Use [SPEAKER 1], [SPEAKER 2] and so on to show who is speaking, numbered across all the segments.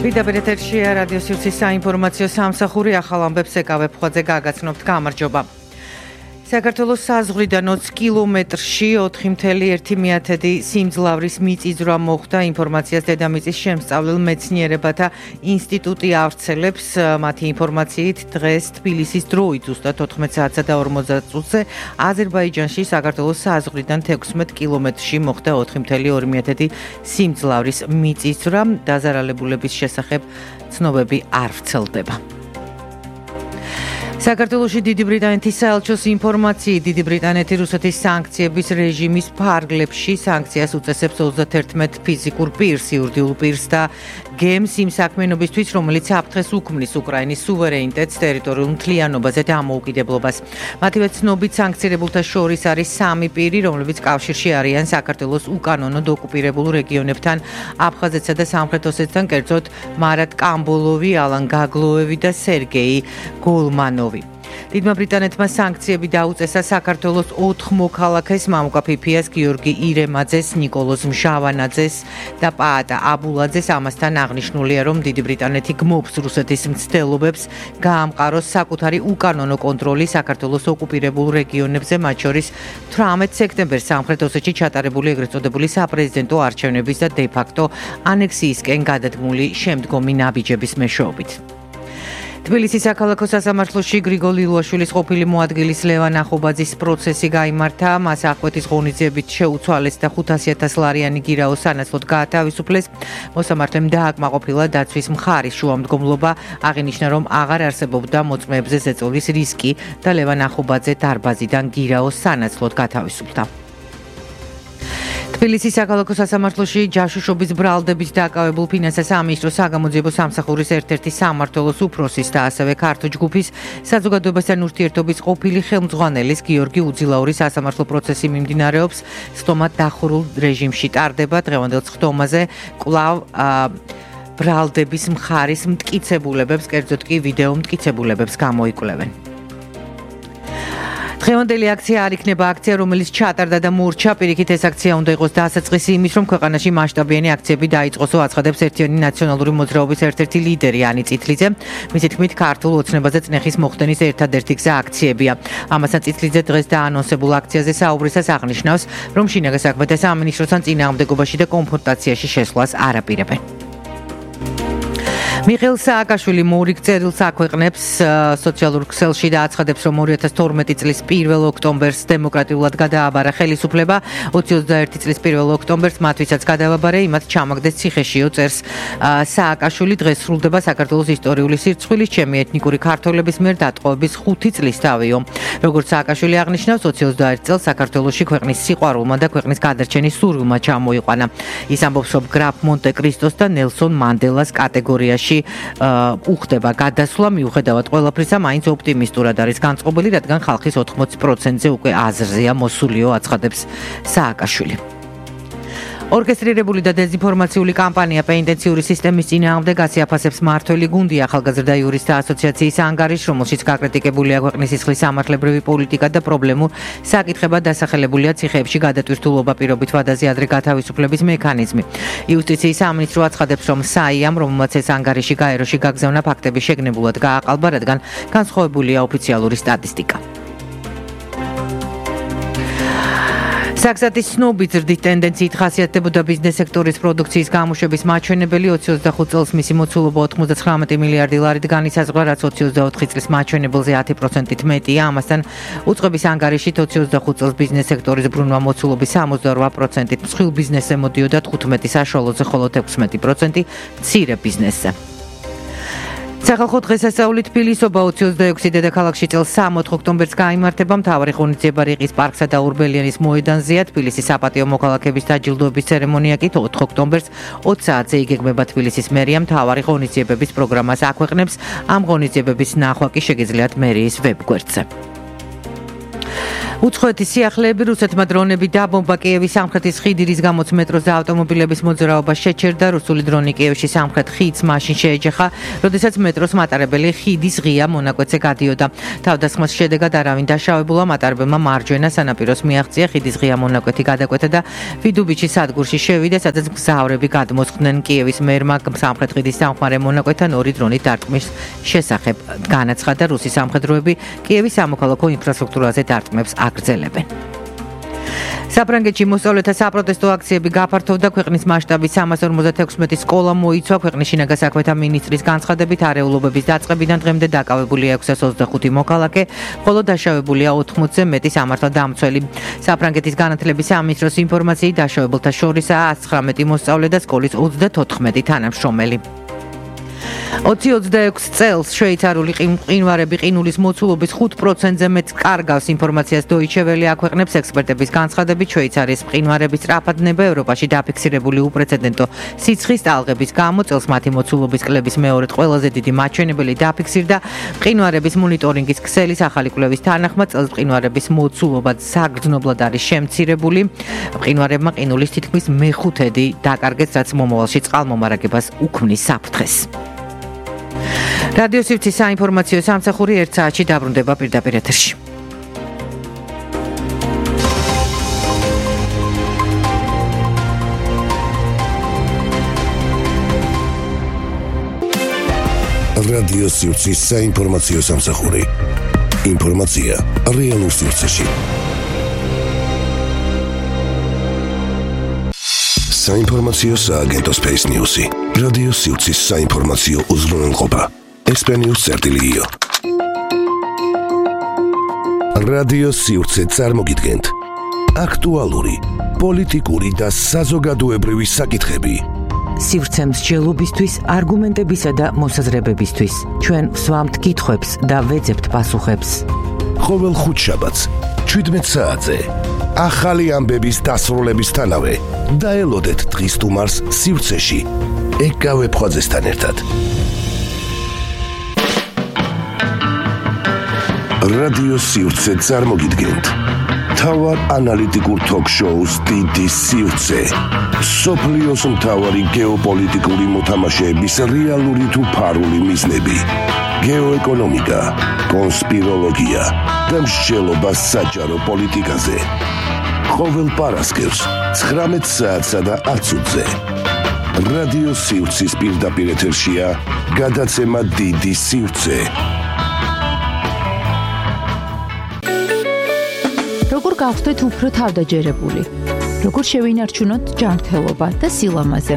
[SPEAKER 1] პირდაპირ ეთერშია რადიო სივრცის საინფორმაციო სამსახური ახალ ამბებს ეკავებ ხვაძე გაგაცნობთ გამარჯობა. საქართველოს საზღვრიდან 20 კილომეტრში 4.1 სიმძლავრის მიწისძვრა მოხდა. ინფორმაციას დედამიწის შემსწავლელ მეცნიერებათა ინსტიტუტი ავრცელებს. მათი ინფორმაციით დღეს თბილისის დროით ზუსტად 14:40 აზერბაიჯანში საქართველოს საზღვრიდან 16 კილომეტრში მოხდა 4.2 სიმძლავრის მიწისძვრა. დაზარალებულების შესახებ ცნობები არ ვრცელდება. საქართველოში დიდი ბრიტანეთის საელჩოს ინფორმაციით დიდი ბრიტანეთი რუსეთის სანქციების რეჟიმის ფარგლებში სანქციას უწესებს 31 ფიზიკურ პირს, იურიდიულ პირს და გემს იმ საქმიანობისთვის, რომელიც აფრთხეს უქმნის უკრაინის სუვერენიტეტს, ტერიტორიულ მთლიანობაზე და დამოუკიდებლობას. მათივე ცნობით სანქცირებულთა შორის არის 3 პირი, რომლებიც კავშირში არიან საქართველოს უკანონოდ ოკუპირებულ რეგიონებთან, აფხაზეთსა და სამხრეთ ოსეთთან, კერძოდ მარატ კამბოლოვი, ალან გაგლოევი და სერგეი გოლმანოვი. დიდმა ბრიტანეთმა სანქციები დაუწესა საქართველოს 4 მოქალაქეს, მამუკა ფიფიას, გიორგი ირემაძეს, ნიკოლოზ მჟავანაძეს და პაატა აბულაძეს. ამასთან აღნიშნულია, რომ დიდი ბრიტანეთი გმობს რუსეთის მცდელობებს გაამყაროს საკუთარი უკანონო კონტროლი საქართველოს ოკუპირებულ რეგიონებზე, მათ შორის 18 სექტემბერს სამხრეთ ოსეთში ჩატარებული ეგრეთ წოდებული საპრეზიდენტო არჩევნების და დე-ფაქტო ანექსიისკენ გადადგმული შემდგომი ნაბიჯების მეშვეობით. თბილისის საქალაქო სასამართლოში გრიგოლ ილუაშვილის ყოფილი მოადგილის ლევან ახობაძის პროცესი გაიმართა. მას აღკვეთის ღონისძიებით შეუცვალეს და 500,000 ლარიანი გირაო სანაცვლოდ გაათავისუფლეს. მოსამართლემ დააკმაყოფილა დაცვის მხარის შუამდგომლობა, აღინიშნა, რომ აღარ არსებობდა მოწმეებზე ზეწოლის რისკი და ლევან ახობაძე დარბაზიდან გირაო სანაცვლოდ გათავისუფლდა. თბილისის საქალაქო სასამართლოში ჯაშუშობის ბრალდებით დაკავებულ ფინანსთა სამინისტროს საგამოძიებო სამსახურის ერთ-ერთი სამმართველოს უფროსის და ასევე ქართო ჯგუფის საზოგადოებასთან ურთიერთობის ყოფილი ხელმძღვანელის გიორგი უძილაურის სასამართლო პროცესი მიმდინარეობს. სხდომა დახურულ რეჟიმში ტარდება. დღევანდელ სხდომაზე კვლავ ბრალდების მხარის მტკიცებულებებს, კერძოდ კი ვიდეო მტკიცებულებებს გამოიკვლევენ. დღევანდელი აქცია არ იქნება აქცია, რომელიც ჩატარდა და მორჩა. პირიქით ეს აქცია უნდა იყოს დასაწყისი იმის, რომ ქვეყანაში მასშტაბიანი აქციები დაიწყოსო, აცხადებს ერთიანი ნაციონალური მოძრაობის ერთ-ერთი ლიდერი ანი წითლიძე. მისი თქმით, ქართულ ოცნებაზე წნეხის მოხდენის ერთადერთი გზა აქციებია. ამასთან წითლიძე დღეს დაანონსებულ აქციაზე საუბრისას აღნიშნავს, რომ შინაგან საქმეთა სამინისტროსთან წინააღმდეგობაში და კონფრონტაციაში შესვლას არ აპირებენ. მიხეილ სააკაშვილი მორიგ წერილს აქვეყნებს სოციალურ ქსელში და აცხადებს, რომ 2012 წლის 1 ოქტომბერს დემოკრატიულად გადააბარა ხელისუფლება. 2021 წლის 1 ოქტომბერს მათ ვისაც გადააბარა, იმათ ჩამაგდეს ციხეშიო, წერს სააკაშვილი. დღეს სრულდება საქართველოს ისტორიული სირცხვილის ჩემი ეთნიკური ქართველების მიერ დატყვევების 5 წლისთავიო. როგორც სააკაშვილი აღნიშნავს, 2021 წელს საქართველოში ქვეყნის სიყვარულმა და ქვეყნის გადარჩენის სურვილმა ჩამოიყვანა. ის ამბობს, რომ გრაფ მონტე კრისტოს და ნელსონ მანდელას კატეგორიაში უხდება გადასვლა, მიუხედავად ყველაფრისა, მაინც ოპტიმისტურად არის განწყობილი, რადგან ხალხის 80%-ზე უკვე აზრზეა მოსულიო, აცხადებს სააკაშვილი. ორკესტრირებული და დეзинფორმაციული კამპანია პენიტენციური სისტემის წინააღმდეგ აფასებს მმართველი გუნდი ახალგაზრდა იურისტთა ასოციაციის ანგარიშს, რომელშიც გაკრიტიკებულია ქვეყნის სისხლის სამართლებრივი პოლიტიკა და პრობლემურ საკითხებად დასახელებულია ციხეებში გადატვირთულობა, პირობით ვადაზე ადრე გათავისუფლების მექანიზმი. იუსტიციის სამინისტრო აცხადებს, რომ საიამ, რომელმაც ეს ანგარიში გაეროში გაგზავნა, ფაქტები შეგნებულად გააყალბა, რადგან განსხვავებულია ოფიციალური სტატისტიკა. საქსათის ცნობით ზრდის ტენდენციით ხასიათდებოდა ბიზნეს სექტორის პროდუქციის გამოშვების მაჩვენებელი. 2025 წელს მისი მოცულობა 99 მილიარდი ლარით განისაზღვრა, რაც 2024 წლის მაჩვენებელზე 10%-ით მეტია. ამასთან უწყების ანგარიშით 2025 წელს ბიზნეს სექტორის ბრუნვა მოცულობის 68%-ით, მსხვილ ბიზნესზე მოდიოდა 15 საშუალოზე, ხოლო 16% მცირე ბიზნესზე. სახალხო დღესასწაული თბილისობა 26 დედაქალაქში წელს 3 ოქტომბერს გაიმართება. მთავარი ღონისძიება რიყის პარკსა და ურბელიანის მოედანზეა. თბილისის საპატიო მოქალაქეების დაჯილდოების ცერემონია კი 4 ოქტომბერს 20 საათზე იგეგმება. თბილისის მერია მთავარი ღონისძიებების პროგრამას აქვეყნებს. ამ ღონისძიებების ნახვა კი შეგიძლიათ მერიის ვებგვერდზე. უცხოეთის სიახლეები რუსეთმა დრონები დაბომბა კიევის სამხრეთის ხიდი, რის გამოც მეტროს და ავტომობილების მოძრაობა შეჩერდა. რუსული დრონი კიევში სამხრეთ ხიდს მაშინ შეეჯახა, როდესაც მეტროს მატარებელი ხიდის ღია მონაკვეთზე გადიოდა. თავდასხმის შედეგად არავინ დაშავებულა, მატარებელმა მარჯვენა სანაპიროს მიაღწია, ხიდის ღია მონაკვეთი გადაკვეთა და ვიდუბიჩის სადგურში შევიდა, სადაც მგზავრები გადმოსხდნენ. კიევის მერმა სამხრეთ ხიდის სამხმარე მონაკვეთთან 2 დრონით დარტყმის შესახებ განაცხადა. რუსი სამხედროები კიევის სამოქალაქო ინფრასტრუქტურაზე დარტყმებს აგრძელებენ. საფრანგეთში მოსწავლეთა საპროტესტო აქციები გაფართოვდა. ქვეყნის მასშტაბით 356 სკოლა მოიცვა. ქვეყნის შინაგან საქმეთა მინისტრის განცხადებით, არეულობების დაწყებიდან დღემდე დაკავებულია 625 მოქალაქე, ხოლო დაშავებულია 80-ზე მეტი სამართალდამცველი. საფრანგეთის განათლების სამინისტროს ინფორმაციით, დაშავებულთა შორისაა 119 მოსწავლე და სკოლის 34 თანამშრომელი. 2026 წელს შვეიცარიული მყინვარები ყინულის მოცულობის 5%-ზე მეტ კარგავს. ინფორმაციას Deutsche Welle აქვეყნებს. ექსპერტების განცხადებით, შვეიცარიის მყინვარების სწრაფადნება ევროპაში დაფიქსირებული უპრეცედენტო სიცხის ტალღების გამო წელს მათი მოცულობის კლების მეორედ ყველაზე დიდი მაჩვენებელი დაფიქსირდა. მყინვარების მონიტორინგის ქსელის ახალი კვლევის თანახმად წელს მყინვარების მოცულობა საგრძნობლად არის შემცირებული. მყინვარებმა ყინულის თითქმის მეხუთედი დაკარგეს, რაც მომავალში წყალმომარაგებას უქმნის საფრთხეს. რადიო სივრცის საინფორმაციო სამსახური 1 საათში დაბრუნდება პირდაპირ ეთერში.
[SPEAKER 2] რადიო სივრცის საინფორმაციო სამსახური. ინფორმაცია რეალურ სივრცეში. საინფორმაციო სააგენტო Space News-ი. რადიო სივრცის საინფორმაციო უზრუნველყოფა. ესპენიურ-წერტილიო. რადიო სივრცე წარმოგიდგენთ აქტუალური, პოლიტიკური და საზოგადოებრივი საკითხები.
[SPEAKER 1] სივრცე მსჯელობისთვის, არგუმენტებისა და მოსაზრებებისთვის. ჩვენ ვსვამთ კითხვებს და ვეძებთ პასუხებს.
[SPEAKER 2] ყოველ ხუთშაბათს 17 საათზე ახალი ამბების დასრულებისთანავე დაელოდეთ დღის სტუმარს სივრცეში ეკავე ფხაძესთან ერთად. რადიო სივრცე წარმოგიდგენთ მთავარ ანალიტიკურ თოქ-შოუს დიდი სივრცე. სოფლიოს მთავარი გეოპოლიტიკური მოთამაშეების რეალური თუ ფარული მიზნები, გეოეკონომიკა, კონსპიროლოგია და მსჯელობა საჯარო პოლიტიკაზე. ყოველ პარასკევს 19 საათსა და 10-ზე. რადიო სივრცის პირდაპირ ეთერშია გადაცემა დიდი სივრცე.
[SPEAKER 3] როგორ გავხდეთ უფრო თავდაჯერებული? როგორ შევინარჩუნოთ ჯანმრთელობა და სილამაზე?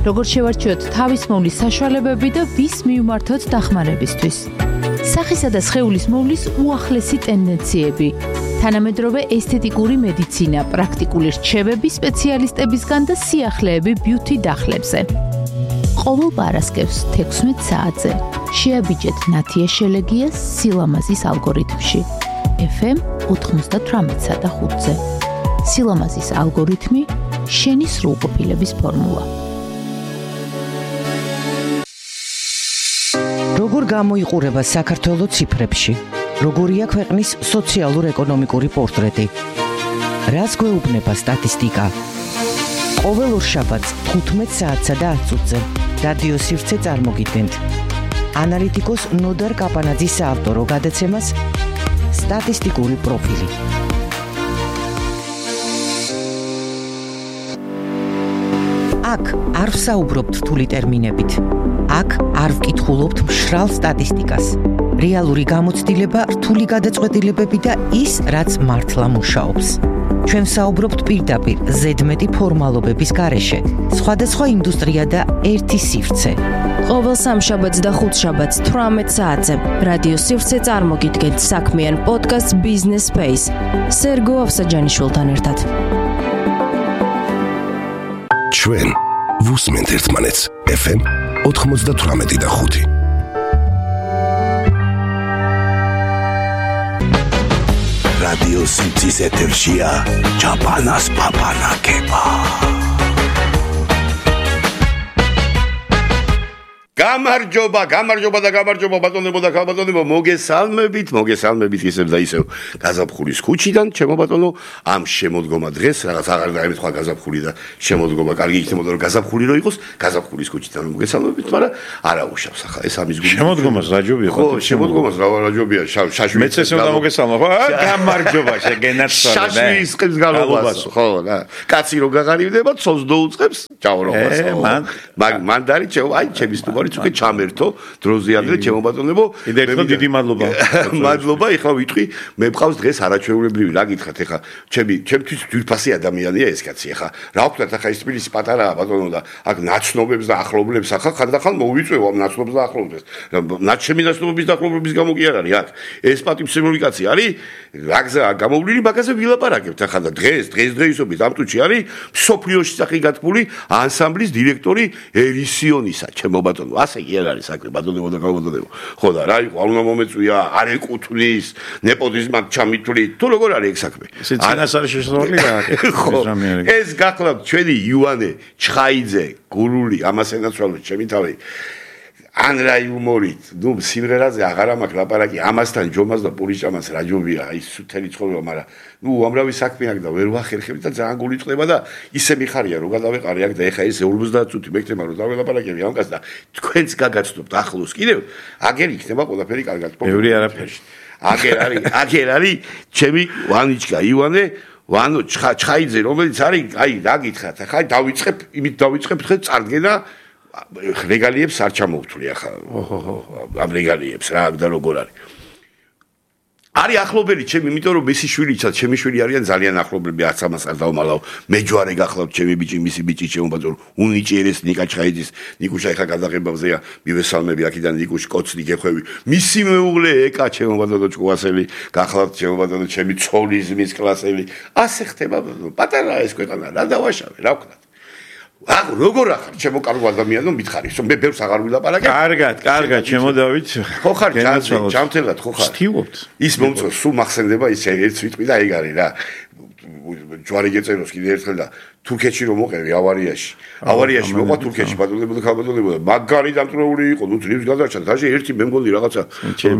[SPEAKER 3] როგორ შევარჩიოთ თავისმოვლის საშუალებები და ვის მივმართოთ დახმარებისთვის? სახისა და სხეულის მოვლის უახლესი ტენდენციები, თანამედროვე ესთეტიკური მედიცინა, პრაქტიკული რჩევები სპეციალისტებისგან და სიახლეები ბიუთი დახლებზე. ყოველ პარასკევს 16 საათზე შეაბიჯეთ ნათია შელეგიას სილამაზის ალგორითმში. FM 98-სა და 5-ზე. სილამაზის ალგორითმი, შენი სრულყოფილების ფორმულა.
[SPEAKER 1] როგორ გამოიყურება საქართველოს ციფრებში? როგორია ქვეყნის სოციალურ-ეკონომიკური პორტრეტი? რას გვეუბნება სტატისტიკა? ყოველ ორშაბათს 15 საათსა და 10-ზე რადიო სივრცე წარმოგიდგენთ. ანალიტიკოს ნოდარ კაპანაძის საავტორო გადაცემას სტატისტიკური პროფილი. აქ არ ვსაუბრობთ რთული ტერმინებით. აქ არ ვკითხულობთ მშრალ სტატისტიკას. რეალური გამოცდილება, რთული გადაწყვეტილებები და ის, რაც მართლა მუშაობს. ჩვენ ვსაუბრობთ პირდაპირ, ზედმეტი ფორმალობების გარეშე. სხვადასხვა ინდუსტრია და ერთი სივრცე.
[SPEAKER 4] ყოველ სამშაბათს და ხუთშაბათს 18 საათზე რადიო სივრცე წარმოგიდგენთ საქმიან პოდკასტ Business Space სერგო ავსაჯანიშვილთან ერთად.
[SPEAKER 2] ჩვენ ვუსმენთ ერთმანეთს FM 98.5. რადიო სივრცის ეთერშია ჩაპანას პაპანაკება.
[SPEAKER 5] გამარჯობა ბატონებო და ქალბატონებო, მოგესალმებით ისევ და ისევ გაზაფხულის ქუჩიდან, ჩემო ბატონო, ამ შემოდგომა დღეს რაღაც აღარ დაემთხვა გაზაფხული და შემოდგომა კარგი იქნებოდა რომ გაზაფხული რო იყოს, გაზაფხულის ქუჩიდან მოგესალმებით, მაგრამ არა უშავს ახლა ეს ამის გული.
[SPEAKER 6] შემოდგომას რაჯობია
[SPEAKER 5] ხო, შემოდგომას რაჯობია, შაშვი.
[SPEAKER 6] მეც ესე უნდა მოგესალმო, ხო? გამარჯობა შეგენაცვალე.
[SPEAKER 5] შაშვი ისყებს გალობას, ხო, რა. კაცი რო გაღარივდება, ცოლს დაუწყებს, ჭაურობას. მან დარი ჩემი სტუმარიც უკვე ჩამერთო დროზე ადრე ჩემო ბატონებო.
[SPEAKER 6] კიდევ დიდი მადლობა.
[SPEAKER 5] მადლობა, ეხლა ვიტყვი, მე მყავს დღეს არაჩვეულებრივი, რა გითხრათ ეხლა, ჩემთვის ძვირფასი ადამიანია ეს კაცი ეხლა. რა ვქნათ ახლა ის თბილისი პატარაა ბატონო და აქ ნაცნობებს და ახლობლებს ახლა ხანდახან მოვიწვევ ამ ნაცნობებს და ახლობლებს. ჩემი ნაცნობების და ახლობლების გამო კი არ არის აქ. ეს პატივცემული კაცი არის, რა გზაა გამოვლილი, მაგაზე ვილაპარაკებთ ახლა და დღესდღეობით ამ წუთში არის მსოფლიოში სახელი გათქმული ანსამბლის დირექტორი ერისიონისა, ჩემო ბატონო. ასე კი არ არის საქმე, ბატონებო და ქალბატონებო. ხო და რა იყო, არ უნდა მომეწვია, არ ეკუთვნის, ნეპოტიზმად ჩამითვლი, თუ როგორ არის ეს საქმე?
[SPEAKER 6] წინას არის შესაძლებელი რა.
[SPEAKER 5] ეს გახლავთ ჩვენი იუანე ჩხაიძე, გურული, ამას ენაცვალოთ ჩემი თავი. ან რა იუმორით, სიმღერაზე აღარ მაქვს ლაპარაკი, ამასთან ჯომას და პურიჭამას რაჯობია, აი სუთელი ცხოვრება, მაგრამ უამრავი საქმე აქვს და ვერ ვახერხები და ძალიან გული წყდება და ისე მიხარია რომ გადავეყარე აქ და ეხა ეს 50 წუთი მეკთება რომ დაველაპარაკები ამ კაცს და თქვენც გაგაცნობთ ახლოს კიდევ, აგერ იქნება ყველაფერი კარგად.
[SPEAKER 6] ბევრი არაფერი.
[SPEAKER 5] აგერ არის ჩემი ვანიჩკა ივანე ვანო ჩხაიძე, რომელიც არის, აი რა გითხრათ, ახლა დავიწყებ ხე წარდგენა რეგალიებს არ ჩამოვთვლი ახლა. ამ რეგალიებს რა და როგორ არის. არის ახლობელი ჩემი, იმიტომ რომ მისი შვილიცაც, ჩემი შვილი არიან ძალიან ახლობლები, არც ამას არ დავმალავ. მე ჯვარე გახლავთ ჩემი ბიჭი, მისი ბიჭი ჩემო ბატონო, უნიჭიერეს ნიკა ჩხაიძის, ნიკუშა ეხა გადაღებებზეა, მივესალმები აქედან ნიკუშ კოცნი გეხვევი. მისი მეუღლე ეკა ჩემო ბატონო ჭკუასელი, გახლავთ ჩემო ბატონო, ჩემი ცოლიზმის კლასელი. ასე ხდება ბატონო, პატარა ეს ქვეყანა, რა დავაშავე, რა ვქნათ. როგორ ახარ ჩემო კარგ ადამიანო მითხარი მე ბევრს აღარ ვილაპარაკებ
[SPEAKER 6] კარგად ჩემო დავით
[SPEAKER 5] ხო ხარ ჯამთელად ხო ხარ
[SPEAKER 6] ვთივობთ
[SPEAKER 5] ის მომწონს სულ მახსენდება ის ერთ ვიტყვი და ეგ არის რა ჯვარი გეწეროს კიდე ერთხელ და თურქეთში რომ მოყევი ავარიაში მოყვა თურქეთში ბატონებო და ქალბატონებო და მაგარი დამტრეული იყო ნუ ძრებს გადარჩა დაჟე ერთი მე მგონი რაღაცა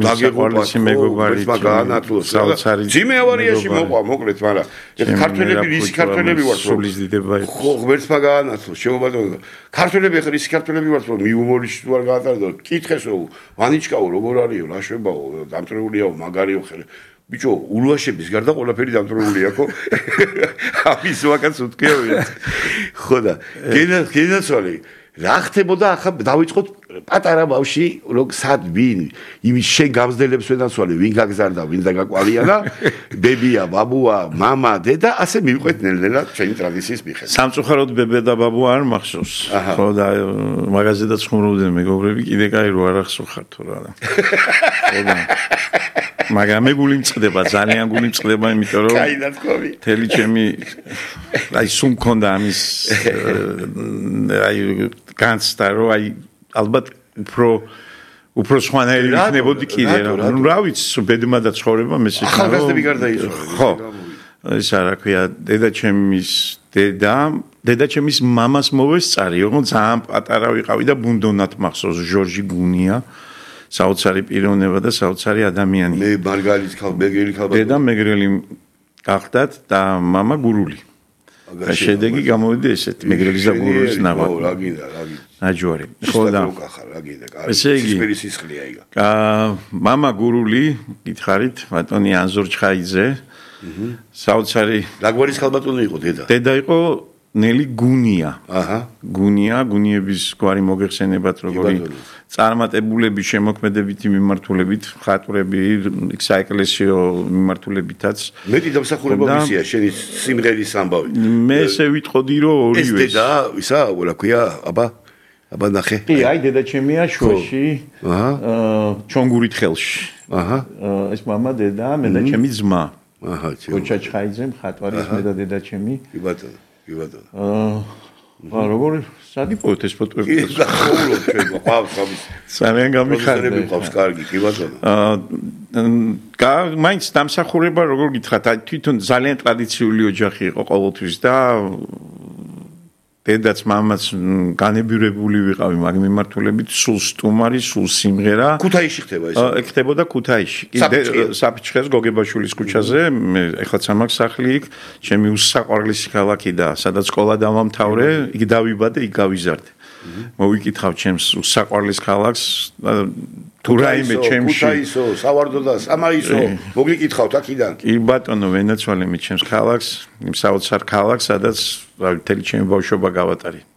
[SPEAKER 6] დაგეყოლისი მეგობარი
[SPEAKER 5] საოცარი ძიმე ავარიაში მოყვა მოკლედ მაგრამ ეს ქართველები ვართ
[SPEAKER 6] სულის დიდება იყო
[SPEAKER 5] ხო ღმერთმა გაანათლო შემობატონო ქართველები ხარ ის ქართველები ვართ რომ მიუმორიში თუ არ გაატარდა კითხესო ვანიჩკაო როგორ არისო რა შვებაო დამტრეულიაო მაგარიო ხე ბიჭო, ულვაშების გარდა ყველაფერი დამტრეულია ხო? ამის ვაკაც უთქეოია. ხო და გენაცვალე, რა ხდებოდა ახლა დავიწყოთ პატარა ბავში, რომ სად ვინ, იმის შენ გამზდელებს ვენაცვალე, ვინ გაგზარდა, ვინ დაგაკვალიანა, ბებია, ბაბუა, მამა, დედა, ასე მივყვეთ ნელ-ნელა ჩვენი ტრადიციის მიხედვით.
[SPEAKER 6] სამწუხაროდ ბებია და ბაბუა არ მახსოვს. ხო და მაღაზიადაც ხმრობდნენ მეგობრები, კიდე კაი რო არ ახსოვხარ თუ რა. ხო და მაგრამ მე გული მწყდება, ძალიან გული მწყდება, იმიტომ რომ თელი ჩემი აი სულ მქონდა ამის აი განცდა რომ აი ალბათ უფრო სხვანაირი იქნებოდი კიდე რა რა ვიცი ბედმა და ცხოვრება მეს იქნა
[SPEAKER 5] ახალგაზრდები გარდა ის
[SPEAKER 6] ხო ეს რა ქვია დედა ჩემის მამას მოვესწარი რომ ძალიან პატარა ვიყავი და ბუნდონად მახსოვს ჟორჟი გუნია საოცარი პიროვნება და საოცარი ადამიანი.
[SPEAKER 5] მე მარგალიც მეგრელი ხალბატონი.
[SPEAKER 6] დედა მეგრელი გახდათ და მამა გურული. შედეგი გამოვიდა ესეთი მეგრელის და გურულის ნაღვაწი.
[SPEAKER 5] რა გინდა.
[SPEAKER 6] ნაჯვარი. ხო და
[SPEAKER 5] რა გინდა.
[SPEAKER 6] ესე იგი.
[SPEAKER 5] სისხლია იგა.
[SPEAKER 6] მამა გურული, გითხარით, ბატონი ანზორ ჩხაიძე. საოცარი.
[SPEAKER 5] რა გვარის ხალბატონი იყო დედა?
[SPEAKER 6] დედა იყო ნელი გუნია.
[SPEAKER 5] აჰა.
[SPEAKER 6] გუნიების გვარი მოგეხსენებათ როგორი წარმატებულები შემოქმედებითი მიმართულებით, ხატვრები, საეკლესიო მიმართულებითაც.
[SPEAKER 5] მეტი დამსახურება მისია შენი სიმღერის ამბავი.
[SPEAKER 6] მე ესე ვიტყოდი რომ ორივე.
[SPEAKER 5] ეს დედა, ისა, რა ქვია, აბა ნახე.
[SPEAKER 6] კი, აი დედა ჩემია შუაში. ჩონგურით ხელში.
[SPEAKER 5] აჰა.
[SPEAKER 6] ეს მამა დედა, მე და ჩემი ძმა.
[SPEAKER 5] აჰა,
[SPEAKER 6] ოჩა ჩხაიძე, მხატვარის მე და დედა ჩემი.
[SPEAKER 5] კი ბატონო.
[SPEAKER 6] როგორ სადიპოვეთ ეს ფოტოები?
[SPEAKER 5] გახაულობ ჩვენ, ყავს ამის.
[SPEAKER 6] ძალიან გამიხარდა.
[SPEAKER 5] ყავს კარგი, კი ბატონო.
[SPEAKER 6] მაინც დამსახურება როგორ გითხრათ, თვითონ ძალიან ტრადიციული ოჯახი იყო ყოველთვის და დედაც მამაც განებირებული ვიყავი მაგ მიმართულებით, სულ სტუმარი, სულ სიმღერა.
[SPEAKER 5] ქუთაისში ხდება ეს?
[SPEAKER 6] ხდებოდა ქუთაისში. საფიჩხეს გოგებაშვილის ქუჩაზე, მე ეხლა სამაგ სახლი იქ, ჩემი უსაყვარლესი ქალაქი და სადაც სკოლა დავამთავრე, იქ დავიბადე, იქ გავიზარდე. მოვიკითხავ ჩემს უსაყვარლეს ქალაქს თუ რაიმე ჩემში
[SPEAKER 5] ქუთაისო, სავარდო და სამაისო, მოგიკითხავთ აქიდან.
[SPEAKER 6] კი ბატონო, ვენაცვალე მე ჩემს ქალაქს, იმ საოცარ ქალაქს, სადაც მთელი ჩემი ბავშვობა გავატარე.